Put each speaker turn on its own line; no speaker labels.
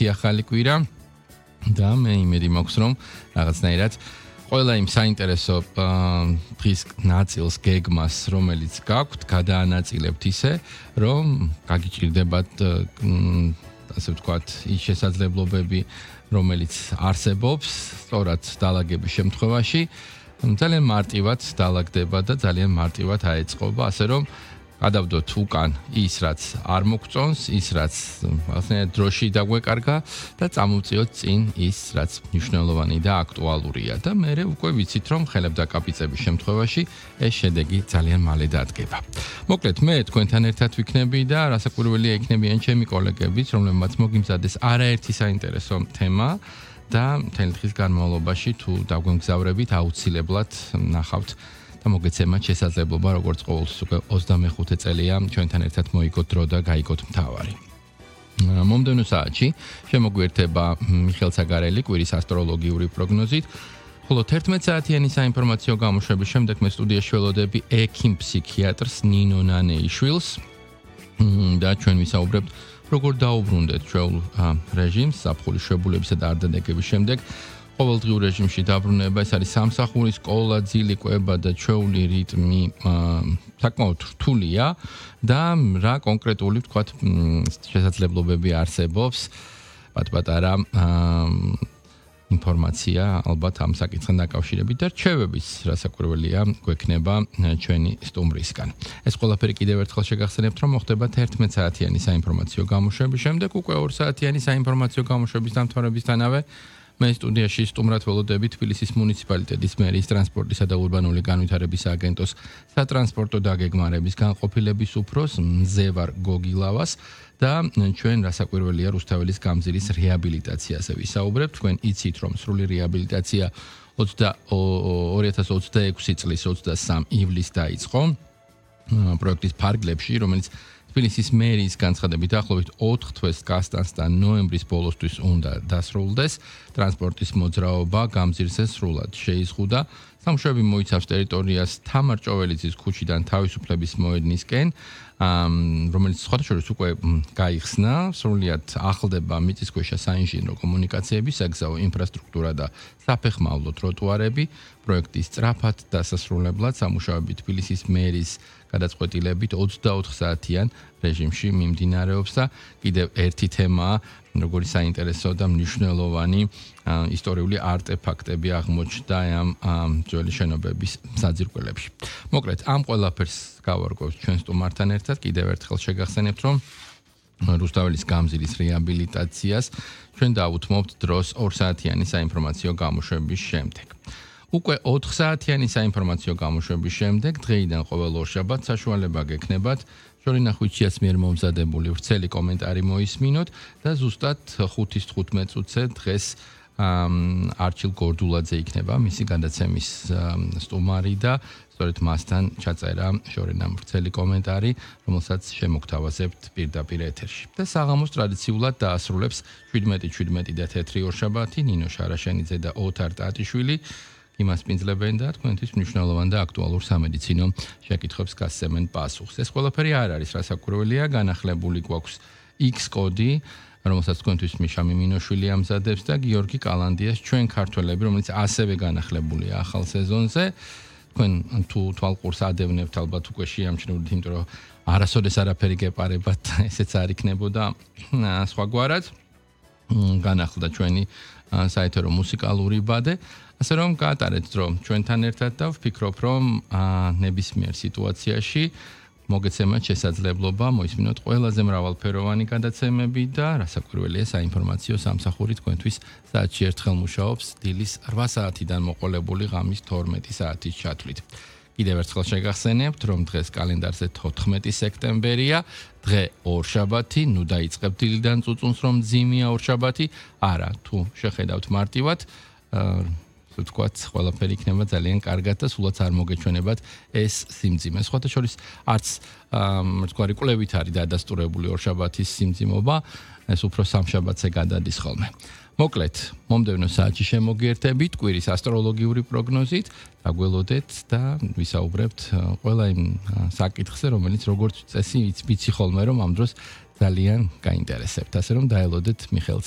ერთი ახალი კვირა და მე იმედი მაქვს რომ რაღაცნაირად ყველა იმ საინტერესო დღის ნაწილს გეგმას რომელიც გაქვთ გადაანაწილებთ ისე რომ გაგიჭირდებათ ასე ვთქვათ ის შესაძლებლობები რომელიც არსებობს სწორად დალაგების შემთხვევაში ძალიან მარტივად დალაგდება და ძალიან მარტივად აეწყობა ასე რომ გადავდოთ უკან ის რაც არ მოგწონს ის რაც რაღაცნაირად დროში დაგვეკარგა და წამოვწიოთ წინ ის რაც მნიშვნელოვანი და აქტუალურია და მე უკვე ვიცით რომ ხელებდაკაპიცების შემთხვევაში ეს შედეგი ძალიან მალე დადგება. მოკლედ მე თქვენთან ერთად ვიქნები და რასაკვირველია იქნებიან ჩემი კოლეგებიც რომლებმაც მოგიმზადეს არაერთი საინტერესო თემა და მთელი დღის განმავლობაში თუ დაგვემგზავრებით აუცილებლად ნახავთ და მოგეცემათ შესაძლებლობა როგორც ყოველთვის უკვე 25 წელია ჩვენთან ერთად მოიგოთ დრო და გაიგოთ მთავარი. მომდევნო საათში შემოგვიერთება მიხელ ცაგარელი კვირის ასტროლოგიური პროგნოზით, ხოლო 11 საათიანი საინფორმაციო გამოშვების შემდეგ მე სტუდიაში ველოდები ექიმ ფსიქიატრს ნინო ნანეიშვილს და ჩვენ ვისაუბრებთ როგორ დაუბრუნდეთ ჩვეულ რეჟიმს საფხულის შვებულებისა და არდადეგების შემდეგ ყოველდღიურ რეჟიმში დაბრუნება ეს არის სამსახური, სკოლა, ძილი, კვება და ჩვეული რიტმი საკმაოდ რთულია და რა კონკრეტული ვთქვათ შესაძლებლობები არსებობს პატარა ინფორმაცია ალბათ ამ საკითხთან დაკავშირებით და რჩევების რასაკვირველია გვექნება ჩვენი სტუმრისგან. ეს ყველაფერი კიდევ ერთხელ შეგახსენებთ რომ მოხდება 11 საათიანი საინფორმაციო გამოშვების შემდეგ უკვე 2 საათიანი საინფორმაციო გამოშვების დამთავრებისთანავე მე სტუდიაში სტუმრად ველოდები თბილისის მუნიციპალიტეტის მერის ტრანსპორტისა და ურბანული განვითარების აგენტოს სატრანსპორტო დაგეგმარების განყოფილების უფროს მზევარ გოგილავას და ჩვენ რასაკვირველია რუსთაველის გამზირის რეაბილიტაციაზე ვისაუბრებთ. თქვენ იცით რომ სრული რეაბილიტაცია 2026 წლის 23 ივლისს დაიწყო პროექტის ფარგლებში, რომელიც თბილისის მერის განცხადებით ახლობით 4 თვეს გასტანს და ნოემბრის ბოლოსთვის უნდა დასრულდეს. ტრანსპორტის მოძრაობა გამზირზე სრულად შეიზღუდა. სამუშაოები მოიცავს ტერიტორიას თამარ ჭოველიძის ქუჩიდან თავისუფლების მოედნისკენ, რომელიც სხვადასხვა უკვე გაიხსნა, სრულიად ახლდება მიწისქვეშა საინჟინრო კომუნიკაციები, საგზაო ინფრასტრუქტურა და საფეხმავლო ტროტუარები. პროექტის სწრაფად დასასრულებლად სამუშაოები თბილისის მერის გადაწყვეტილებით 24 საათიან რეჟიმში მიმდინარეობს და კიდევ ერთი თემაა, როგორი საინტერესო და მნიშვნელოვანი ისტორიული არტეფაქტები აღმოჩნდა ამ ძველი შენობების საძირკველებში. მოკლედ, ამ ყველაფერს გავარკვევთ ჩვენ სტუმართან ერთად, კიდევ ერთხელ შეგახსენებთ, რომ რუსთაველის გამზირის რეაბილიტაციას ჩვენ დაუთმობთ დროს 2 საათიანი საინფორმაციო გამოშვების შემდეგ. უკვე 4 საათიანი საინფორმაციო გამოშვების შემდეგ დღეიდან ყოველ ორშაბათს საშუალება გექნებათ შორინახვიჩიას მიერ მომზადებული ვრცელი კომენტარი მოისმინოთ და ზუსტად 5:15 წუთზე დღეს არჩილ გორდულაძე იქნება მისი გადაცემის სტუმარი და სწორედ მასთან ჩაწერა შორინა ვრცელი კომენტარი, რომელსაც შემოგთავაზებთ პირდაპირ ეთერში. და საღამოს ტრადიციულად დაასრულებს 17:17 და თეთრი ორშაბათი ნინო შარაშენიძე და ოთარ ტატიშვილი იმას პინძლებენ და თქვენთვის მნიშვნელოვან და აქტუალურ სამედიცინო შეკითხვებს გასცემენ პასუხს. ეს ყველაფერი არ არის რასაკვირველია, განახლებული გვაქვს X კოდი, რომელსაც თქვენთვის მიშა მიმინოშვილი ამზადებს და გიორგი კალანდიას ჩვენ ქართველები, რომელიც ასევე განახლებულია ახალ სეზონზე. თქვენ თუ თვალყურს ადევნებთ, ალბათ უკვე შეამჩნევთ, იმიტომ რომ არასოდეს არაფერი გეპარებათ, ესეც არ იქნებოდა სხვაგვარად. განახლდა ჩვენი საეთერო მუსიკალური ბადე. ასე რომ გაატარეთ დრო ჩვენთან ერთად და ვფიქრობ რომ ნებისმიერ სიტუაციაში მოგეცემათ შესაძლებლობა მოისმინოთ ყველაზე მრავალფეროვანი გადაცემები და რასაკვირველია საინფორმაციო სამსახური თქვენთვის საათში ერთხელ მუშაობს დილის 8 საათიდან მოყოლებული ღამის 12 საათის ჩათვლით. კიდევ ერთხელ შეგახსენებთ რომ დღეს კალენდარზე 14 სექტემბერია, დღე ორშაბათი, ნუ დაიწყებთ დილიდან წუწუნს რომ ძიმია ორშაბათი, არა თუ შეხედავთ მარტივად ვთქვათ, ყველაფერი იქნება ძალიან კარგად და სულაც არ მოგეჩვენებათ ეს სიმძიმე. სხვათა შორის არც თქვარი კვლევით არის დადასტურებული ორშაბათის სიმძიმობა, ეს უფრო სამშაბათზე გადადის ხოლმე. მოკლედ, მომდევნო საათში შემოგიერთებით კვირის ასტროლოგიური პროგნოზით, დაგველოდეთ და ვისაუბრებთ ყველა იმ საკითხზე, რომელიც როგორც წესი ვიცი ხოლმე რომ ამ დროს ძალიან გაინტერესებთ. ასე რომ დაელოდეთ მიხელ